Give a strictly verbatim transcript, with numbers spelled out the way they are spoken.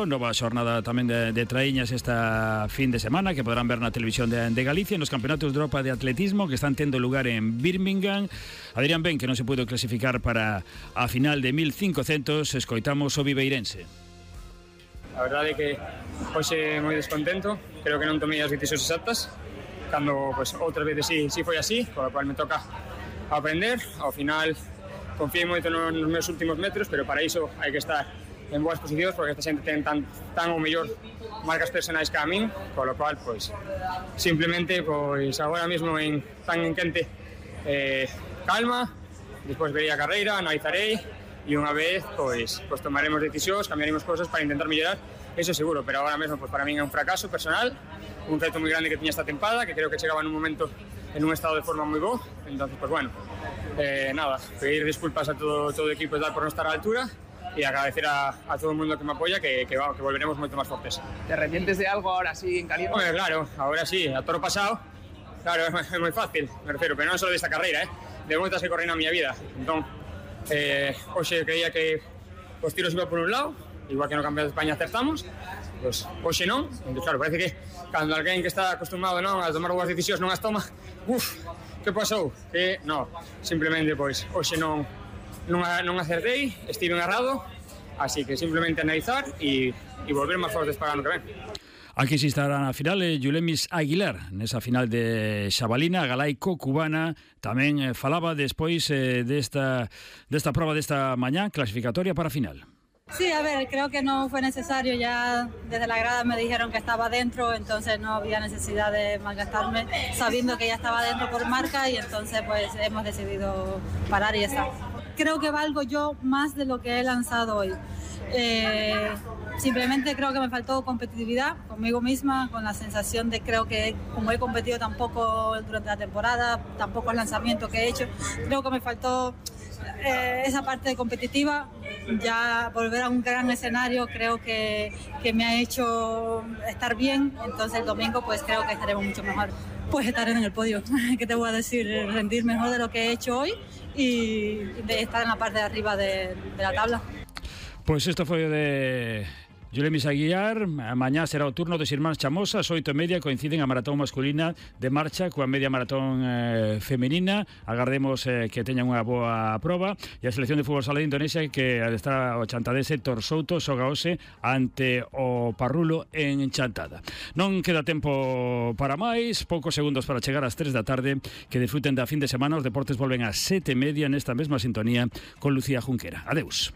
Nova xornada tamén de, de traíñas esta fin de semana que podrán ver na televisión de, de Galicia nos campeonatos de Europa de atletismo que están tendo lugar en Birmingham. Adrián Ben, que non se pudo clasificar para a final de mil cincocentos, escoitamos o viveirense. A verdade é que hoxe moi descontento, creo que non tomei as decisións exactas, cando pues, outras veces sí, sí foi así, con lo cual me toca aprender. Ao final confiei moito nos meus últimos metros, pero para iso hai que estar en boas posicións, porque esta xente ten tan, tan ou mellor marcas personais que a min, con lo cual, pois, simplemente, pois, agora mesmo en, tan en quente, eh, calma, despois verei a carreira, analizarei, e unha vez, pois, pois tomaremos decisións, cambiaremos cosas para intentar mellorar, eso seguro, pero agora mesmo, pois, para min é un fracaso personal, un reto moi grande que tiña esta tempada, que creo que chegaba nun momento en un estado de forma moi bo, entonces, pois, bueno, eh, nada, pedir disculpas a todo, todo o equipo de dar por non estar á altura, y agradecer a, a todo el mundo que me apoya, que, que, que volveremos mucho más fuertes. ¿Te arrepientes de algo ahora sí en caliente? Hombre, claro, ahora sí, a toro pasado, claro, es, es muy fácil, me refiero, pero non solo de esta carreira, eh, de muchas que corren na miña vida. Entón, eh, hoxe creía que os tiros iba por un lado, igual que no Campeonato de España acertamos, pues hoxe non, entón, claro, parece que cando alguén que está acostumado non a tomar boas decisións non as toma, uff, que pasou? Que non, simplemente, pois, hoxe non Non, non acertei, estive errado, así que simplemente analizar e, e volver máis fortes para o ano que ven. Aquí sí estará na final eh, Yulemis Aguilar, nesa final de Xabalina, galaico, cubana, tamén eh, falaba despois eh, desta, desta prova desta mañá, clasificatoria para a final. Sí, a ver, creo que no fue necesario, ya desde la grada me dijeron que estaba dentro, entonces no había necesidad de malgastarme, sabiendo que ya estaba dentro por marca y entonces pues hemos decidido parar y ya está. Creo que valgo yo más de lo que he lanzado hoy. Eh, simplemente creo que me faltó competitividad conmigo misma, con la sensación de creo que como he competido tampoco durante la temporada, tampoco el lanzamiento que he hecho, creo que me faltó eh, esa parte competitiva. Ya volver a un gran escenario creo que, que me ha hecho estar bien, entonces el domingo pues creo que estaremos mucho mejor. Pues estar en el podio, ¿qué te voy a decir? Rendir mejor de lo que he hecho hoy y de estar en la parte de arriba de, de la tabla. Pues esto foi de Yulemis Aguilar. Mañá será o turno dos irmáns Chamosas, oito e media coinciden a maratón masculina de marcha coa media maratón eh, femenina. Agardemos eh, que teñan unha boa proba. E a selección de fútbol sala de Indonesia que está o chantadese Torsouto xoga hoxe ante o Parrulo en Chantada. Non queda tempo para máis, poucos segundos para chegar ás tres da tarde. Que disfruten da fin de semana. Os deportes volven ás sete e media nesta mesma sintonía con Lucía Junquera. Adeus.